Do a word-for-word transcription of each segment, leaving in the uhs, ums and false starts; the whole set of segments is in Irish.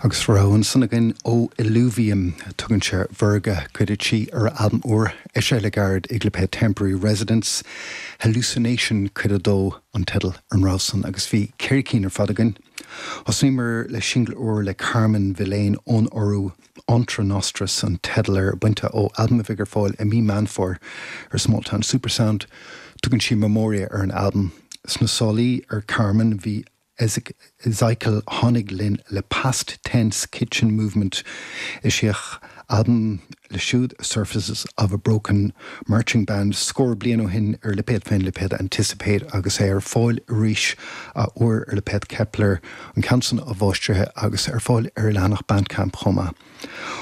Agus rogha ansan againn ó Illuvium tugann sé Virga cuid a trí ar albam úr eisithe le gairid ag lipéad Temporary Residence, Hallucination cuid a dó an teideal ar an rogha san agus bhí ceithre cinn ar fad againn. Thosaíomar le singil úr le Carmen Villain ón Iorua Entre Nostras an teideal air bainte ó albam a bheidh ar fáil i mí Meán Fómhair ar Smalltown Supersound, tugann sí Memoria ar an albam. Sna sálaí ar Carmen bhí Ezekiel Honig linn le Past Tense Kitchen Movement eisíodh albam le siúd Surfaces of a Broken Marching Band scór bliain ó shin ar lipéad féin lipéad Anticipate agus é ar fáil arís athuair ar lipéad Kepler an ceann san athmháistrithe agus ar fáil ar leathanach Bandcamp chomh maith.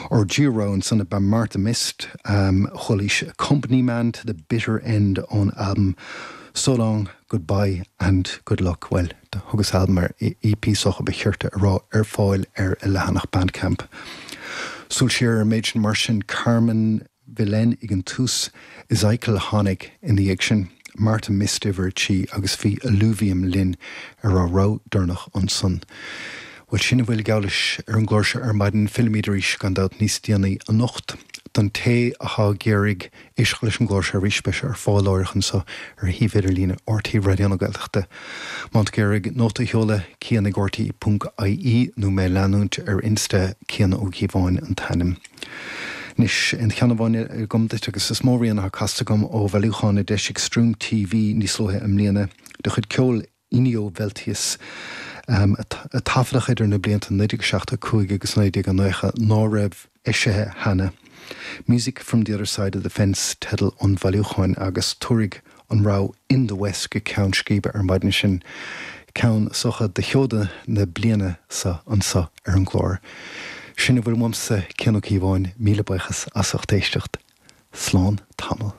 Ár dtríú rogha ansan ba Martha Mist um, chualaís Company Man to the Bitter End ón albam So Long, Goodbye and Good Luck well thugas albam ar EP socha ba chirte a rá ar fáil ar a leathanach Bandcamp. Súil siar ar méid sin mar sin Carmen Villain ag an tús Ezekiel Honig ina dhiaidh sin Martha Mist uimhir trí agus bhí Illuvium linn ar a rogha deireanach ansan. Well sin a bhfuil geall leis ar an gclár seo ar maidin fillimid arís gan dabht níos déanaí anocht. Don té atá ag iarraidh éisteacht leis an gclár seo arís beidh sé ar fáil láithreach anseo ar shuíomh idirlín RTÉ Raidió na Gaeltachta. Má tá tú ag iarraidh nóta a sheoladh cian ag RTÉ ponc IE nó mé a leanúint ar Insta Cian Ó Cíobháin an t-ainm. Anois aon cheann amháin agam duit agus is mó rian atá casta agam ó bhailiúchán a d'eisigh Stream TV níos luaithe i mbliana de chuid ceol Inio Veltius um, a taifeadadh idir na blianta naoi déag seachtó cúig agus naoi déag nócha ná raibh eisithe cheana. Music from the other side of the fence teideal an bhailiúcháin agus tabharfaidh an rogha In the West go ceann scríbe ar maidin sin ceann socha de sheoda na bliana seo anseo ar an gclár. Sin a bhfuil uaimse Cian Ó Cíobháin míle buíochas as ucht éisteacht. Slán tamall.